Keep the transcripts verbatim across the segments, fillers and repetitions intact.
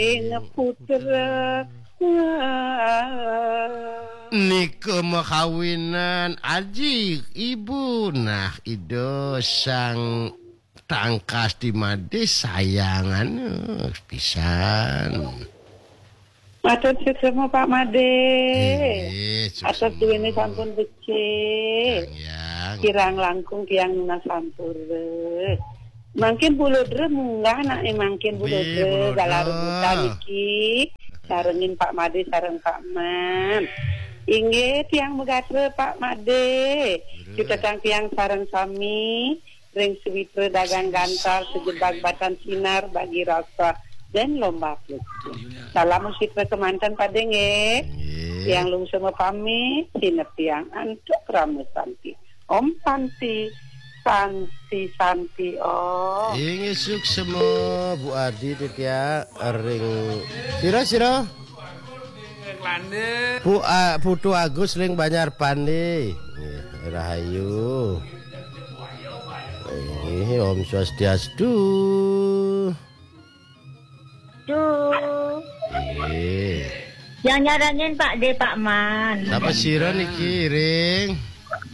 Ing putra. Nika makawinan aji ibu, nah, Ida Sang Tangkas di Made sayangan pisan. Matur suksma Pak Made. Inggih, atas suksma. Duwene sampun becik. Yang, yang. Kirang langkung tiang nunas sampura. Mangkin Bu Ludra munggah, nak, eh, mangkin Bu Nggih, Ludra, Bu Ludra. Galah rebutan niki. Sarengin Pak Made sareng Pak Man. Inggih, tiang megatra Pak Made. Durus. Cutetang tiang sareng sami ring sawitra dagang gantar, sejebag batan sinar, bagi rasa dan lomba puji. Salam sawitra kemanten Pade nggih. Nggih. Tiang lungsur mapamit, sineb tiang antuk krama santi. Om Santi, Santi, Santi Om. Inggih suksma Bu Adi titiang ring sira-sira. Bu A-, Putu Agus ring Banjar Pande. Nggih, rahayu. Inggih, Om Swastiastu. Duh. Nggih. Yang nyarengin Pak De, Pak Man. Sapa sira niki, ring?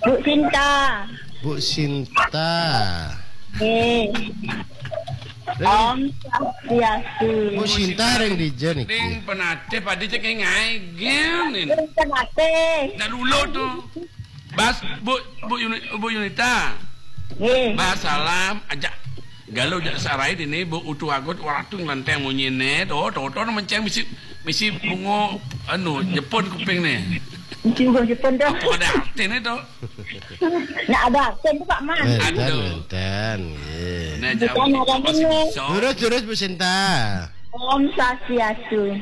Bu Sinta. Bu Sinta. Eh. Ring? Om Swastiastu. Bu Sinta ring dija niki? Ning penatih Pade cek ngae gen ini. Ring penatih. Dah dulu tuh. Bas, Bu, Bu Yuni-, Bu Yunita. Nggih. Bah, salam, ajak galau jak sarai dini, Bu Utu Agut, waratu nglenteng munyine, to, to, to, menceng misi, misi bungo, anu, Jepun kuping ne. Misi bungo Jepun to. Apa ada artine to? Nak ada artine to, Pak Man. Wenten, aduh. Wenten, nggih. Nah, jauh. Terus, terus, Bu Sinta. Om Swastiastu.